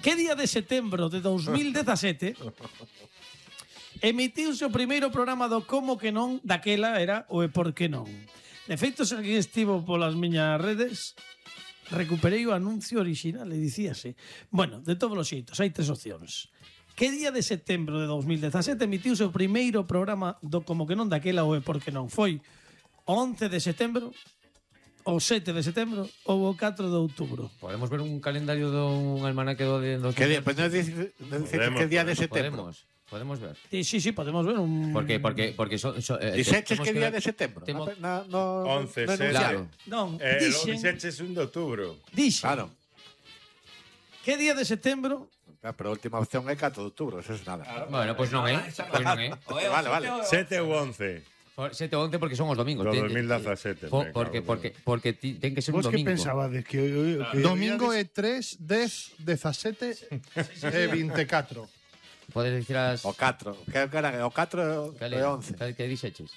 Que día de setembro de 2017 emitiuse o primeiro programa do Como que non daquela era o E Por que non. De feito, se alguén estivo polas miñas redes, recuperei o anuncio original e dicíase. Bueno, de todos os xeitos, hai tres opcións. Que día de setembro de 2017 emitiuse o primeiro programa do Como que non daquela o E Por que non? Foi o 11 de setembro, o 7 de setembro ou o 4 de outubro? Podemos ver un calendario dun almanaque dos... Que día, pues non dice que día de setembro. Podemos ver. Sí, podemos ver un... Porque Dixeches que día de setembro. No, 11, claro. Non, Lo dixen, dixeches 1 de outubro. Claro. Que día de setembro? Pero a última opción é 4 de outubro, eso es nada. Bueno, pois non é. Vale. 7 ou 11. 7 ou 11 porque son os domingos. Do 2017. Porque ten que ser un Vos que domingo. pensabades que domingo é 3, 10, 17 e 24. Podes dicir as... O 4. Que era o 4 e 11. Que dixeches?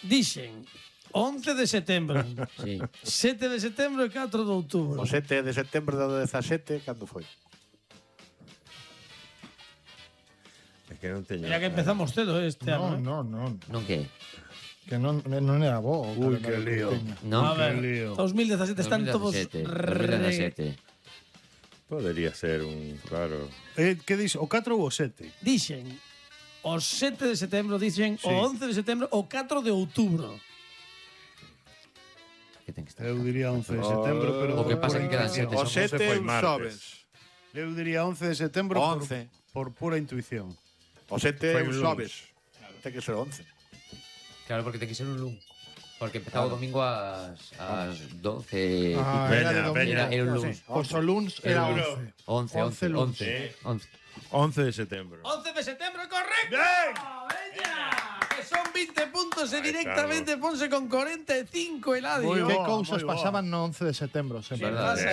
Dixen 11 de setembro, Sí. 7 de setembro e 4 de outubro. O 7 de setembro do 17, cando foi? É que non teño. Ya que empezamos cedo este ano. No. Non que? Que non era bo. Ui, que lío. Non. A ver, lío. 2017 están todos 2017. Podería ser un, claro. Que dis? O 4 ou o 7? Dixen o 7 de setembro, dixen Sí. o 11 de setembro, o 4 de outubro. Que ten que estar. Eu diría 11 de setembro, pero... O que pasa que quedan 7. O 7 é foi un martes. xoves. Eu diría 11 de setembro 11. por pura intuición. O 7 é Foi un un xoves. Ten que ser 11. Claro, porque ten que ser un lunes. Porque empezaba o domingo ás 12. Era de Veña, domingo. Era un lunes. Pois o luns era 11. 11. 11 de setembro. 11 de setembro, correcto. ¡Veña! Que son 20 puntos e Ahí directamente ponse con 45 Eladio. Que Que cousas Oh, pasaban no 11 de setembro sempre. Verdad. pasa,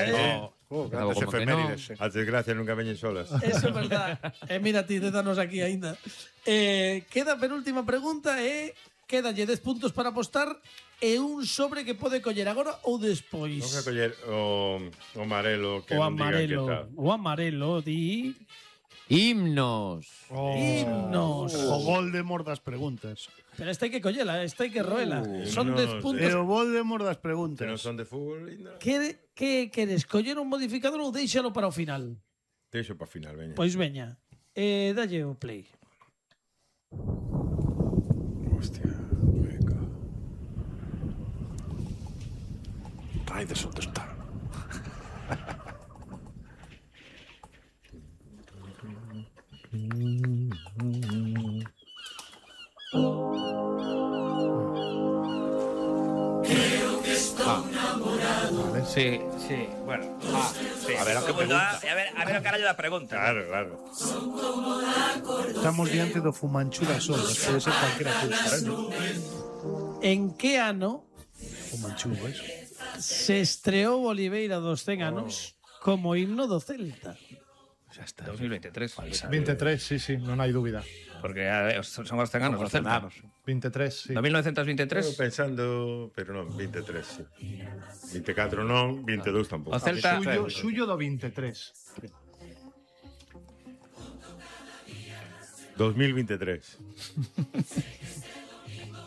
Grandes como que efemérides. As desgracias nunca veñen solas. Eso é verdad. Mira ti, dédanos aquí aínda. Queda a penúltima pregunta e quédalle 10 puntos para apostar e un sobre que pode coller agora ou despois. Non que coller o amarelo que O non diga que amarelo. tal. O amarelo di Himnos. himnos. O Voldemort das preguntas. Pero esta hai que collela, esta hai que roela. Son no, 10 puntos. E o Voldemort das Que preguntas. non son de fútbol, linda. Que queres? Coller un modificador ou deixalo para o final? Deixo para final, veña. Pois veña. Dalle o play. Hostia, venga. Raiders, onde está? Sí. Bueno. A ver, a que pregunta. A ver o carallo da pregunta. Claro. Estamos diante do Fumanchu das ondas. Pode ser calquera cousa. En que ano Fumanchu, ves? se estreou Oliveira dos 100 anos como himno do Celta? Xa está. 2023. 23, sí, non hai dúbida. Porque son os 100 anos. Os Os 100 anos. 23, sí. 1923. Estou pensando, pero non, 23, sí. 24 non, 22 tampouco. O Celta... Suyo do 23. 2023.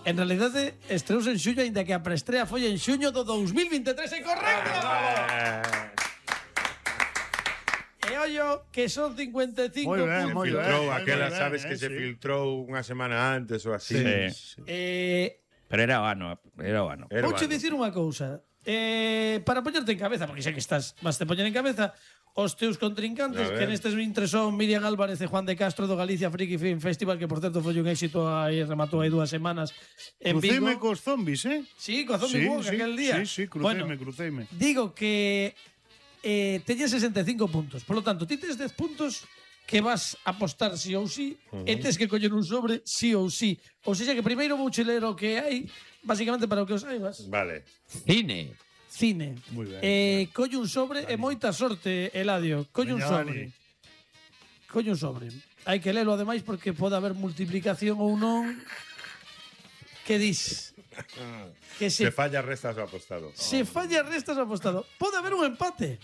En realidade, estreouse en xullo, aínda que a preestrea foi en xuño do 2023. É correcto! E ollo, que son 55 Moi ben, puntos. moi ben. Filtrou Moi aquela, ben, sabes que se sí. filtrou unha semana antes ou así. Sí. Pero era o ano. Era Vouche bueno. dicir unha cousa. Para poñerte en cabeza, porque xa que estás, vas te poñer en cabeza, os teus contrincantes, A ver. que nestes vintres son Miriam Álvarez e Juan de Castro do Galicia Friki Film Festival, que por certo foi un éxito aí, rematou hai 2 semanas en Vigo. Cruceime cos zombies, Sí, co Zombie Walk aquel día. Sí, Bueno, cruceime. digo que teñes 65 puntos. Por lo tanto, ti tes 10 puntos que vas a apostar sí ou sí e tes que coller un sobre sí ou sí. Ou seja que primeiro vou ler o que hai, basicamente para o que os saibas. Vale. Cine. Cine. Moi ben. Colle un sobre e moita sorte, Eladio. Colle un Veña, sobre. Colle un sobre. Hai que lelo ademais porque pode haber multiplicación ou non. Que dis? Que Se falla restas o apostado. se falla restas apostado. Pode haber un empate.